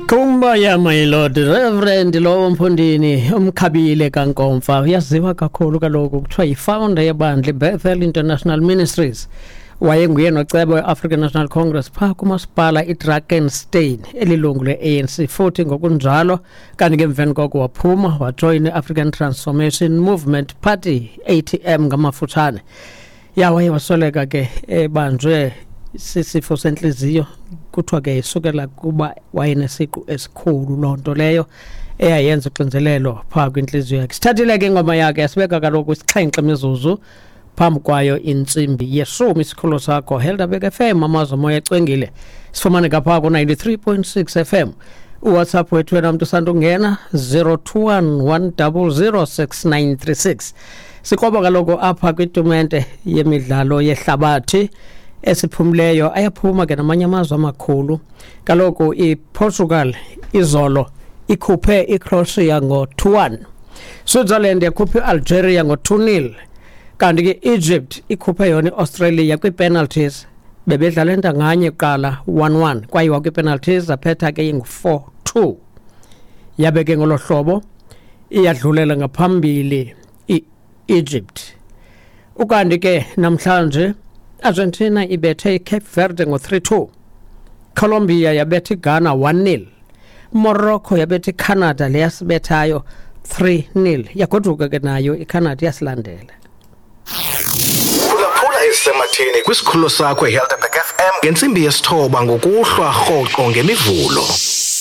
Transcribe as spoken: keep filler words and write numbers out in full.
Kumbaya my lord Reverend lowo mfundini umkhabile kaNkomfa uyaziwa kakhulu kaloku kuthiwa yi-founder yebandla iBethel International Ministries. Wayenguye nocebo we-African National Congress phaa kumasipala iDrakenstein elilungu le-A N C futhi ngokunjalo kanti ke emveni koko waphuma wajoyina i-African Transformation Movement Party A T M ngamafutshane. Ya waye wasweleka ke ebanjwe sisifo sentliziyo kuthiwa ke isukela kuba wayenesiqu esikhulu loo nto leyo eyayenza uxinzelelo phaa kwintliziyo yakhe. Sithathile ke ingoma yakhe yasibeka kaloku isixhenxe imizuzu phambi kwayo intsimbi yeshumi. Isikhululo sakho Helderberg F M, amazwi omoya ecwengile. Sifumaneka phaa ku-ninety-three point six F M. UWhatsApp wethu wena mntu usandungena zero two one one double zero six nine three six. Sikroba kaloku apha kwitumente yemidlalo yehlabathi esiphumileyo ayaphuma ke namanye amazwe amakhulu. Kaloku iPortugal izolo ikhuphe iCroatia ngo two one. Switzerland yakhuphe iAlgeria ngo two nil. Kanti ke Egypt ikhuphe yona iAustralia kwi-penalties. Bebedlala entanganye kuqala one one kwayiwa kwi-penalties zaphetha ke ingu four two. Yabe ke ngolo hlobo iyadlulela ngaphambili i-Egypt. Ukanti ke namhlanje Argentina ibethe iCape Verde ngo three two. Colombia yabethe iGhana one nil. Morocco yabethe iCanada leyasibethayo three nil. Yagoduka ke nayo iCanada yasilandela. Phulaphula ezisematheni kwisikhululo sakho iHelderberg F M ngentsimbi yesithoba ngokuhlwa rhoqo ngemivulo.